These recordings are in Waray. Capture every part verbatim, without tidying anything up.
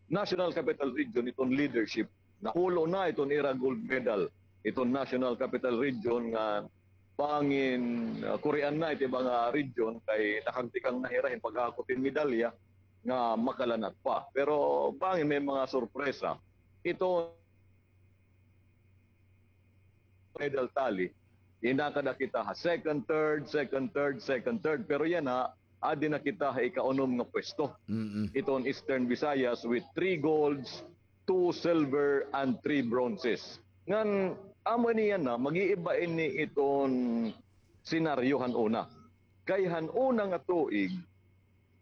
National Capital Region iton leadership. Nahulo na iton ira gold medal iton National Capital Region nga bangin, ah, kurian na iti mga region kay nakagtikang na hira hin pag-akop hin medalya nga makalanat pa. Pero bangin may mga sorpresa. Ito medal tally, inakada kita ha second, third, second, third, second, third. Pero yana, adi na kita ha ikaunom nga pwesto. Mm-mm. Iton Eastern Visayas with three golds, two silver, and three bronzes. Ngan, amo ini yana, mag-iiba ini iton senaryo han una. Kay han una nga tuig,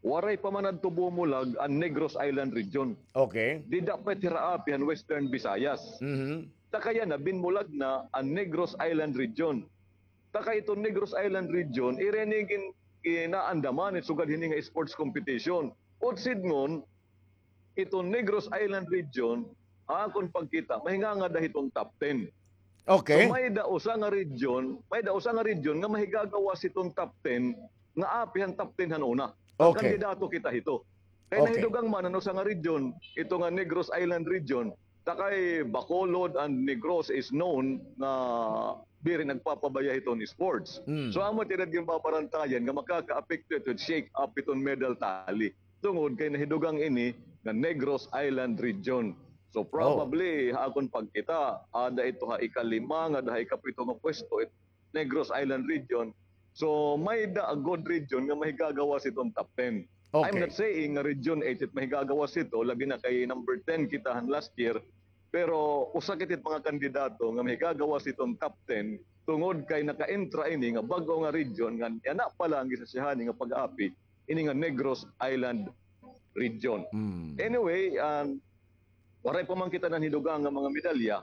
waray pa man adto bumulag an Negros Island Region. Okay. Dida pa it hira api han Western Visayas. Mhm. Ta kay yana, binmulag na an Negros Island Region. Ta kay iton Negros Island Region, ira ini gin-, ginaandaman it sugad hini nga sports competition. Utsid ngon, iton Negros Island Region, ha akon pagkita, mahingangada hiton top ten. Okay. So, may-ada usa nga region, may-ada usa nga region nga mahigagawas hiton top ten nga api han top ten han una. Ang Okay. kandidato kita hito. Kay Okay. nahidugang man an usa nga region, ito nga Negros Island Region, ta kay Bacolod and Negros is known nga diri nagpapabaya hiton sports. Mm. So, amo it ira ginbabarantayan nga makakaapekto ito, shake up iton medal tally. Tungod kay nahidugang ini nga Negros Island Region. So, Oh. probably, ha akon pagkita, ada ito ha ikalima ngada ha ikapito nga pwesto, it Negros Island Region. So, may-ada a good region nga mahigagawas iton top ten. I'm Okay. not saying nga Region eight it mahigagawas ito, labi na kay number ten kita han last year, pero usa kita it mga kandidato nga mahigagawas iton top ten, tungod kay naka-entra ini nga bag-o nga region nga yana pa la an gisasyahan ini nga pag-api, ini nga Negros Island Region. Mm. Anyway, um, waray pa man kita nanhidugang nga mga medalya,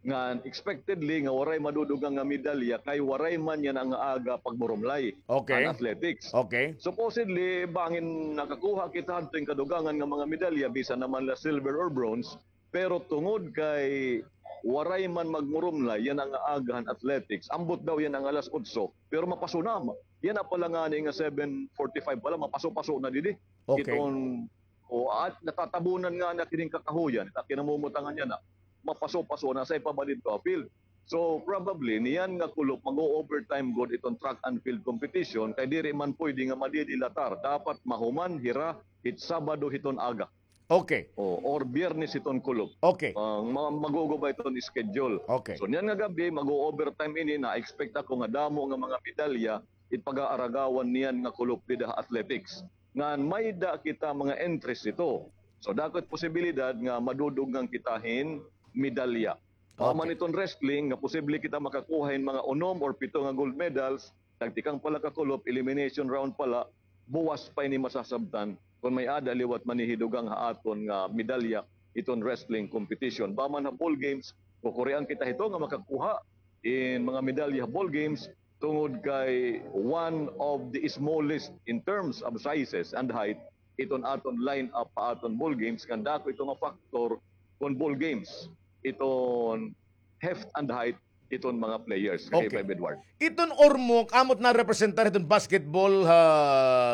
ngan expectedly nga waray madudugang nga medalya kay waray man yana nga aga pagmurumlay Okay. an athletics. Okay. Supposedly, bangin nakakuha kita hadto hin kadugangan nga mga medalya, bisan na man la silver or bronze, pero tungod kay waray man magmurumlay yana nga aga han athletics, ambot daw yana nga alas otso, pero mapaso na. Yana pa la ngani nga seven forty-five pa la, mapaso-paso na didi. Okay. Iton O, at natatabunan ngani kini nga kakahuyan, it kinamumutangan yana, mapaso-paso na, asya pa ba didto ha field. So, probably, niyan nga kulop, mag-o-overtime gud iton track and field competition, kay diri man pwede nga madidilatar. Dapat mahuman hira hit Sabado hiton aga. Okay. O, or Biyernes hiton kulop. Okay. Ah, ma-, maguguba iton schedule. Okay. So, niyan nga gab-i, mag-o-overtime ini, na-expect ako nga damo nga mga medalya, it pag-aaragawan niyan nga kulop dida ha athletics. Ngan may-ada kita mga entries hito. So, dako it posibilidad nga madudugngan kita hin medalya. Mahuman Okay. iton wrestling nga posible kita makakuha hin mga unom or pito nga gold medals, nagtikang pa la ka kulop, elimination round pa la, buwas pa ini masasabtan kon may-ada liwat manihidugang ha aton nga medalya iton wrestling competition. Bangin ha ball games, kukurian kita hito nga makakuha hin mga medalya ha ball games, tungod kay one of the smallest in terms of sizes and height iton aton line-up ha aton ball games, ngan dako ito nga factor kon ball games iton heft and height iton mga players, ka Okay. K five Edward. Iton Ormoc, amo it narepresentar hiton basketball ha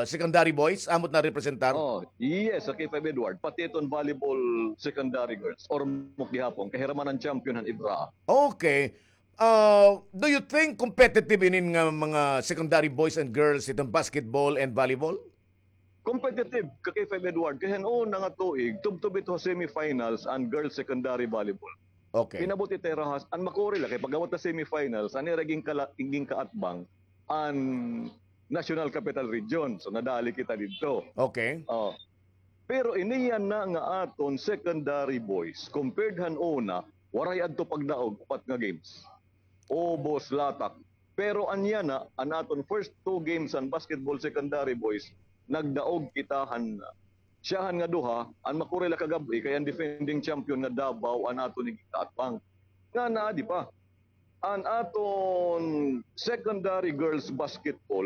secondary boys, amo it narepresentar? Oh, yes, sa K five Edward, pati iton volleyball secondary girls, Ormoc gihapon, kay hira man an champion han Ibra. Okay. Ah, do you think competitive inin nga mga secondary boys and girls iton basketball and volleyball? Competitive, ka K five Edward, kay han una nga tuig, tubtob ito ha semifinals an girls secondary volleyball. Okay. Inabot ita hira ha, an makuri la, kay pag-abot ha semifinals, an ira ginkala-, ginkaatbang, an National Capital Region. So, nadali kita didto. Okay. Oh. Pero ini yana nga aton secondary boys, compared han una, waray adto pagdaog, upat nga games. Ubos latak. Pero an yana, an aton first two games han basketball secondary boys, nagdaog kita han siyahan nga duha, an makuri la kagab-i, kay an defending champion nga Davao, an aton ginkaatbang. Ngan adi pa. An aton secondary girls basketball,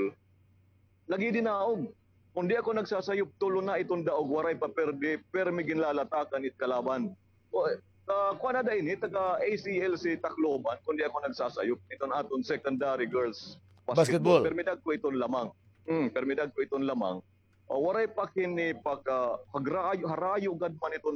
lagi dinaog. Kon di ako nagsasayop, tulo na iton daog, waray pa perde, permi ginlalatakan it kalaban. O, ah, kuan na da ini, taga A C L si Tacloban, kon di ako nagsasayop, iton aton secondary girls basketball. Basketball. Permi dagko iton lamang. Hmm, permi dagko iton lamang. Ah, waray pa kini pagka-, hagrayo, harayo gad man iton